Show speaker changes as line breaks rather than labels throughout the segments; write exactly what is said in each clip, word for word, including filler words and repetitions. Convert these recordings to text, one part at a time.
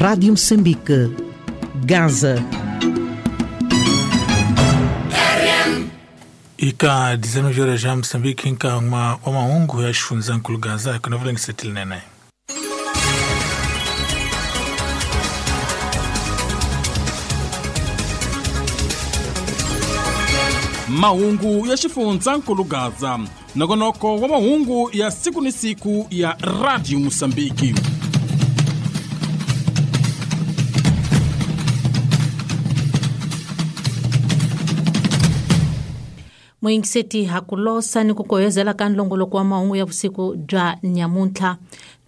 Rádio Moçambique, Gaza.
Ika dezenove horas já Moçambique inka uma uma ungu ya xifundzankulu Gaza kuna vulengisetile nene.
Mahungu ya xifundzankulu Gaza, nongonoko wa mahungu ya siku ni siku ya Radio Moçambique.
Muingiseti hakulosa ni kukoyezela ka nlongoloko wa mahungu ya vusiku bya nyamuntlha.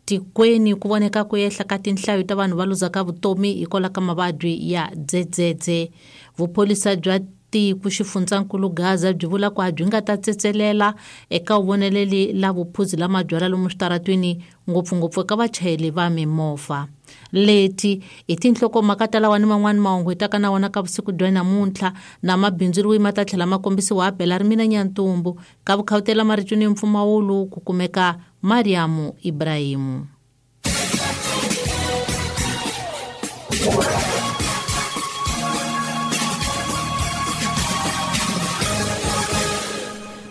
Tikweni ku voneka ku ehla ka tinhlayo ta vanhu va luzaka vutomi hikwalaho ka mavabyi ya dzedzedze. Vupholisa bya tiko xifundzankulu Gaza byi vula ku a byi nga ta tsetselela eka vuvoneleli la vuphuzi la mabyalwa lomu switaratwini, ngopfungopfu eka vachayeri va mimovha. Leti i tinhlokomhaka ta lawa ni man'wani mahungu hi taka na wona ka vusiku bya namuntlha na mabindzu loyi ma ta tlhela ma kombisiwa bela ri mina Nyantumbu ka vukhawutela maricuni mpfumawulo ku kumeka Mariamu Ibrahimu.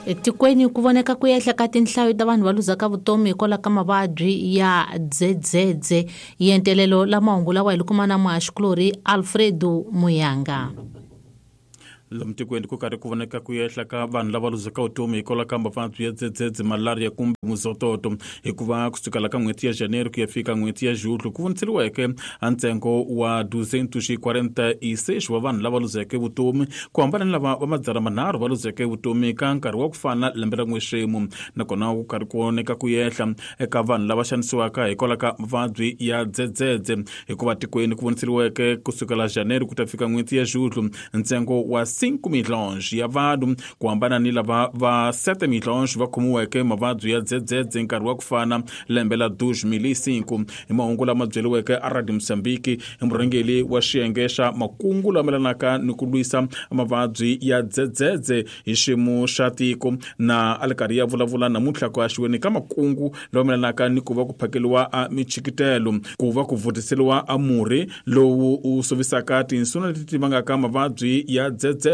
Etikweni ku voneka ku ehla ka tinhlayo ta vanhu va luzaka vutomi hikwalaho ka mavabyi ya dzedzedze. Yentelelo la mahungu lawa hi li kuma na muhaxikulorhi Alfredo Muyanga.
Lomu tikweni ku karhi ku voneka ku ehla ka vanhu lava luzaka vutomi hikwalaho ka mavabyi ya dzedzedze, malaria kumbe muzototo, hikuva kusukela ka n'hweti ya Janeiro ku ya fika n'hweti ya Julho ku voniseriweke a ntsengo wa duzentos e quarenta e seis wa vanhu lava luzeke vutomi, ku hambana ni lava va madzana manharhu va luzeke vutomi ka nkarhi wa ku fana lembe ra n'wexemu. Nakona ku karhi ku voneka ku ehla eka vanhu lava xanisiwaka hikwalaho ka mavabyi ya dzedzedze, hikuva tikweni ku voniseriweke kusukela Janeiro ku ta fika n'hweti ya Julho ntsengo wa cinco milhões ya vanhu, ku hambana ni lava va sete milhões va khomiweke mavabyi ya dzedzedze nkarhi wa ku fana lembe la dois mil e cinco. Hi mahungu lama byeriweke a Radio Moçambique hi murhangeri wa xiyenge xa makungu lama melanaka ni ku lwisa mavabyi ya dzedzedze hi xiyimo xa tiko, na a li karhi ya vulavula namuntlha ku haxiweni ka makungu lama melanaka ni ku va ku phakeliwa a michikitelo, ku va ku vutiseliwa a murhi lowu u sovisaka tinsuna leti ti vangaka mavabyi ya dzedzedze,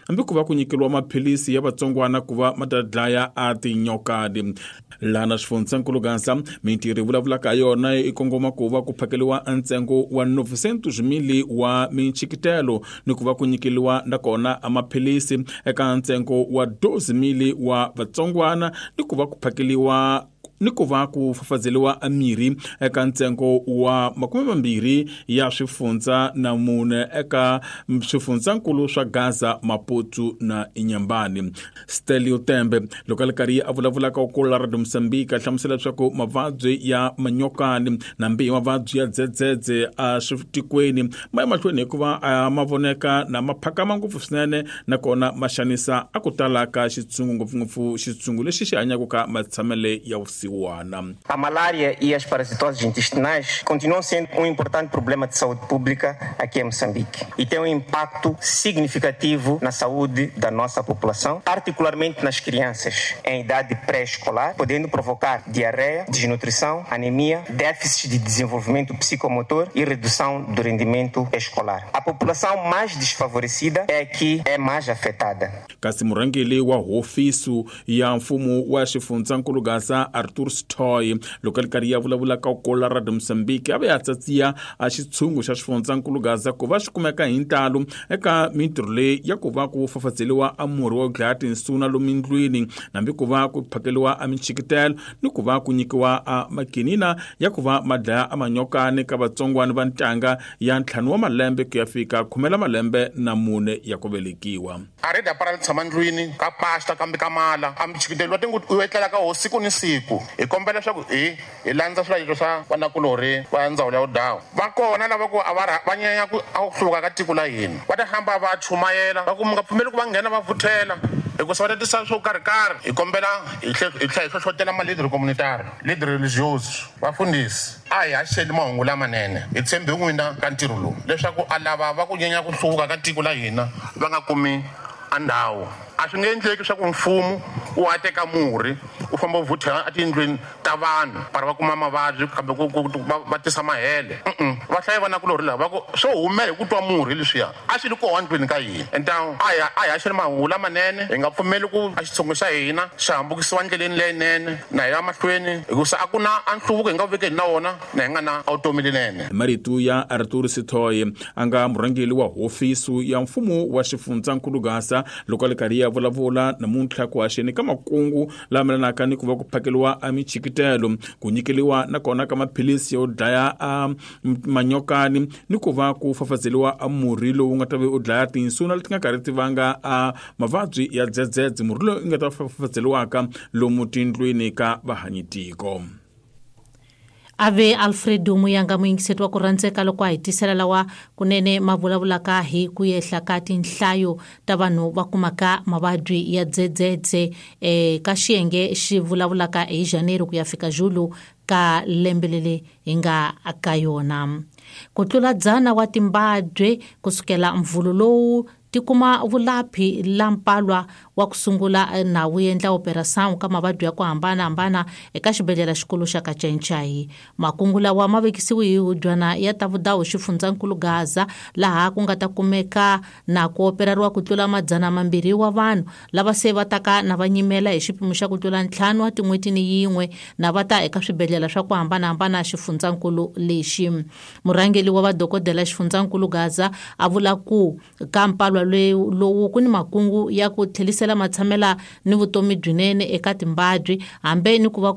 hambi ku va ku nyikeliwa maphilisi ya vatsongwana ku va ma ta dlaya a tinyokadi. Lana xifundzankulu Gaza mintirho yi vulavulaka yona i kongoma ku va ku phakeliwa ntsengo wa novecentos mili wa michikitelo ni ku va ku nyikeliwa nakona a maphilisi eka ntsengo wa doze mili wa vatsongwana ni ku va ku phakeliwa ni ku va ku fafazeliwa mirhi eka ntsengo wa makume mambirhi ya swifundza na mune eka swifundzankulu swa Gaza, Maputo na Inhambane. Stelio Tembe loko a li karhi a vulavulaka ku la Radio Moçambique a hlamusela leswaku mavabyi ya manyokani na mbihi mavabyi ya dzedzedze a switikweni ma ya mahlweni hikuva ma voneka na ma phakama ngopfu swinene, nakona ma xanisa a ku tala ka xitshungu, ngopfungopfu xitshungu lexi xi hanyaka ka matshamele ya vusiwana.
A malária e as parasitoses intestinais continuam sendo um importante problema de saúde pública aqui em Moçambique e têm um impacto significativo na saúde da nossa população, particularmente nas crianças em idade pré-escolar, podendo provocar diarreia, desnutrição, anemia, déficit de desenvolvimento psicomotor e redução do rendimento escolar. A população mais desfavorecida é a que é mais afetada.
Kasi murhangeri wa hofisi ya mfumo wa xifundzankulu Gaza Arthur Stoy loko a li karhi ya vulavulaka ku la Radio Moçambique a ve a tsatsiya a xitshungu xa xifundzankulu Gaza ku va xi kumeka hi ntalo eka mintirho leyi ya ku va ku fafazeliwa a murhi wa ku dlaya tinsuna lomu ndlwini, hambi ku va ku phakeliwa a michikitelo ni ku va ku nyikiwa a makinina ya ku va ma dlaya a manyokani ka vatsongwana va ntanga ya ntlhanu wa malembe ku ya fika khume la malembe na mune ya ku velekiwa.
A ri da tshama ndlwini ka pasta kambe ka mala a michikitelo wa tingu u etlela ka ho siku ni siku. Hi kombela leswaku hi hi landza swilayiso swa vanakulorhi va ndzawulo ya vudawu. Va kona lava ku a va va nyanya ku a ku hluvuka ka tiko la hina, va ta hamba va chumayela va ku mi nga pfumeli ku va nghena va vuthela hikusa va ta tisa swo karhikarhi. Hi kombela hi tlhela hi hlohlotela malideri communitary, leader religioso, vafundhisi a hi haxeli mahungu lamanene. Hi tshembe n'wina ka ntirho lowu leswaku a lava va ku nyanya ku hluvuka ka tiko la hina va nga kumi a ndhawu. A swi nge endleki leswaku mfumo wu teka murhi u famba u vhuthela etindlwini ta vanhu para va kuma mavabyi kambe ku va tisa mahele. Va hlayi vanakulorhi lava va ku swo humela hi ku twa murhi leswiya a swi ri kona ndlwini ka hina. Entawu a hi a hi haxeni mahungu lamanene, hi nga pfumeli ku a xitshungu xa hina xi hambukisiwa ndleleni leyinene na hi ya mahlweni, hikusa a ku na a nhluvuko hi nga vekeni na wona na hi nga na vutomi lenene.
Marito ya Arthur Sithoye a nga murhangeri wa hofisi ya mfumo wa xifundzankulu Gaza loko a ri karhi ya vulavula namuntlha ku haxeni ka makungu lama melanaka ni ku va ku phakeliwa a michikitelo, ku nyikeliwa nakona ka maphilisi yo dlaya a manyokani ni ku va ku fafazeliwa a murhi lowu nga ta ve u dlaya tinsuna leti nga karhi ti vanga a mavabyi ya dzedzedze, murhi lowu nga ta fafazeliwaka lomu tindlwini ka vahanyitiko.
Ave Alfredo Muyanga muyingiseti wa ku rhandzeka loko a hi tisela lawa kunene ma vulavulaka hi ku yehla ka tinhlayo ta vanhu va kumaka mavabyi ya dzedzedze eh, ka xiyenge xi vulavulaka hi January ku ya fika Julu ka lembe leri hi nga ka yona. Ku tlula dzana wa timbabye kusukela mvulu lowu ti kuma vulaphi la mpalwa wa ku sungula na wu endla operação ka mavabyi ya ku hambanahambana eka xibedhlele xikulu xa Kachainchai. Makungu lawa ma vekisiwe hi hubyana ya ta vudawu xifundzankulu Gaza laha ku nga ta kumeka na ku operariwa ku tlula madzana mambirhi wa vanhu lava se va taka na va nyimela hi xipimo xa ku tlula ntlhanu wa tin'hweti ni yin'we na va ta eka swibedhlele swa ku hambanahambana xifundzankulu lexi. Murhangeri wa vadokodela xifundzankulu Gaza a vula ku ka mpalwa lowu ku ni makungu ya ku tlhelisela matshamela ni vutomi byinene eka timbabyi hambe ni ku va